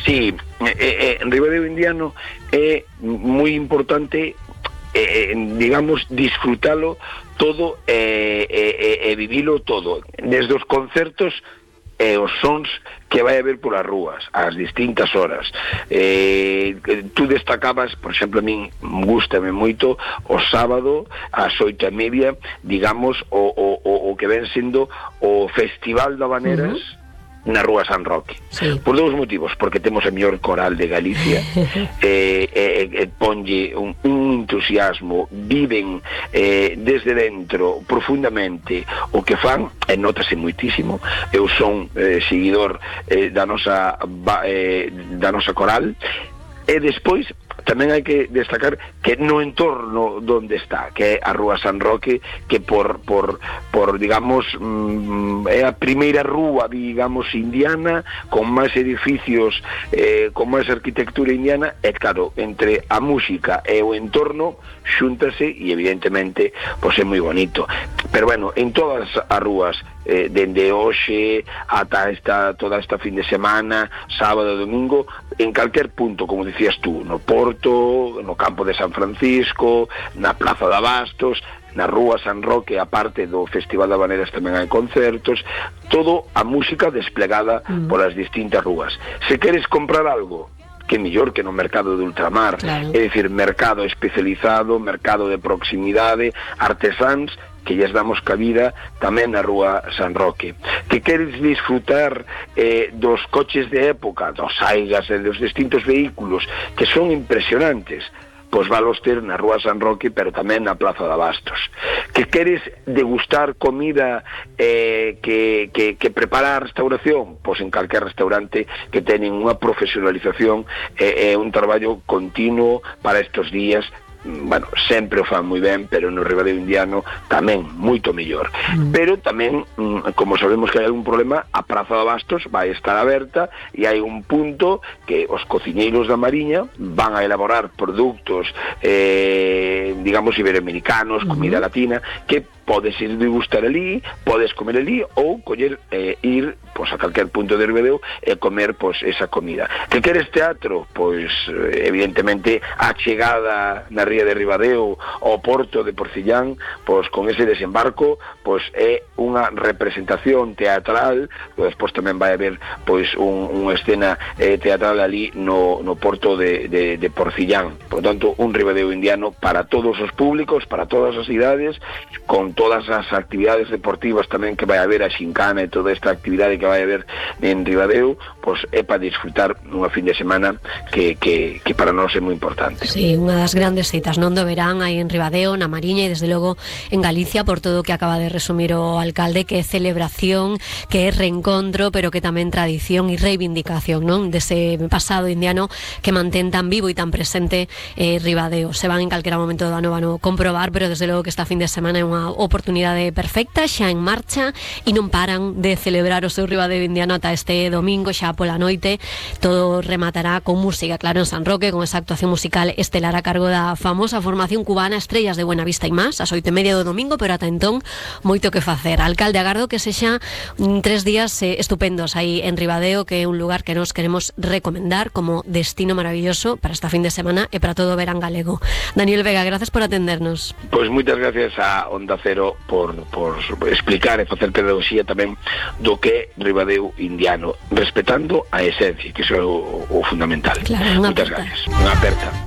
Sí, en Ribadeo Indiano é moi importante, digamos, disfrutalo todo e vivilo todo, desde os concertos e os sons que vai haber polas rúas ás distintas horas. Tú destacabas, por exemplo, a min gústame moito o sábado ás 8:30, digamos, o que ven sendo o Festival de Habaneras na Rúa San Roque. Sí. Por dous motivos, porque temos a mellor coral de Galicia, ponlle un entusiasmo, viven desde dentro profundamente o que fan, e notase moitísimo. Eu son seguidor da nosa coral, e despois tamén hai que destacar que no entorno donde está, que é a Rúa San Roque, que por digamos, é a primeira rúa, digamos, indiana, con máis edificios, con máis arquitectura indiana, e claro, entre a música e o entorno xúntase, e evidentemente pois é moi bonito. Pero bueno, en todas as rúas, dende hoxe ata toda esta fin de semana, sábado e domingo, en calquer punto, como dicías tú, no Porto, no campo de San Francisco, na Plaza de Abastos, na Rúa San Roque, a parte do Festival de Habaneras tamén hai concertos, todo a música desplegada polas distintas rúas. Se queres comprar algo, que mellor que no mercado de ultramar, claro. É dicir, mercado especializado, mercado de proximidade, artesáns, que lles damos cabida tamén na Rúa San Roque. Que queres disfrutar dos coches de época, dos Aigas e dos distintos vehículos, que son impresionantes, pois valos ter na Rúa San Roque, pero tamén na Plaza de Abastos. Que queres degustar comida que prepara a restauración, pois en calquer restaurante que teñen unha profesionalización e un traballo continuo para estes días. Bueno, sempre o fan moi ben, pero no Ribadeo Indiano tamén moito mellor. Pero tamén, como sabemos que hai algún problema, a Praza de Abastos vai estar aberta e hai un punto que os cociñeiros da Mariña van a elaborar produtos, digamos, iberoamericanos, comida latina, que podes ir degustar ali, podes comer ali, ou coller, ir pois a calquer punto de Ribadeo e comer pois esa comida. Que queres teatro? Pois evidentemente a chegada na ría de Ribadeo ao porto de Porcillán, pois con ese desembarco, pois é unha representación teatral. Despois tamén vai haber pois unha escena teatral ali no porto de Porcillán. Por tanto, un Ribadeo Indiano para todos os públicos, para todas as idades, con todas as actividades deportivas tamén que vai haber, a xincana e toda esta actividade que vai haber en Ribadeo, pois é para disfrutar nunha fin de semana que para nós é moi importante. Sí, unha das grandes citas non do verán aí en Ribadeo, na Mariña e desde logo en Galicia, por todo o que acaba de resumir o alcalde, que é celebración, que é reencontro, pero que tamén tradición e reivindicación, non? Dese pasado indiano que mantén tan vivo e tan presente Ribadeo. Se van en calquera momento do ano van a comprobar, pero desde logo que esta fin de semana é unha oportunidade perfecta, xa en marcha, e non paran de celebrar o seu Ribadeo indiano ata este domingo, xa pola noite. Todo rematará con música, claro, en San Roque, con esa actuación musical estelar a cargo da famosa formación cubana Estrellas de Buenavista e Más, ás 8:30 do domingo, pero ata entón moito que facer. Alcalde, agardo que sexa 3 días estupendos aí en Ribadeo, que é un lugar que nos queremos recomendar como destino maravilloso para esta fin de semana e para todo o verán galego. Daniel Vega, gracias por atendernos. Pois moitas gracias a Onda Cero por explicar e facer pedagogía tamén do que é Ribadeo Indiano, respetando a esencia, que iso é o fundamental. Claro, moitas gracias. Unha aperta.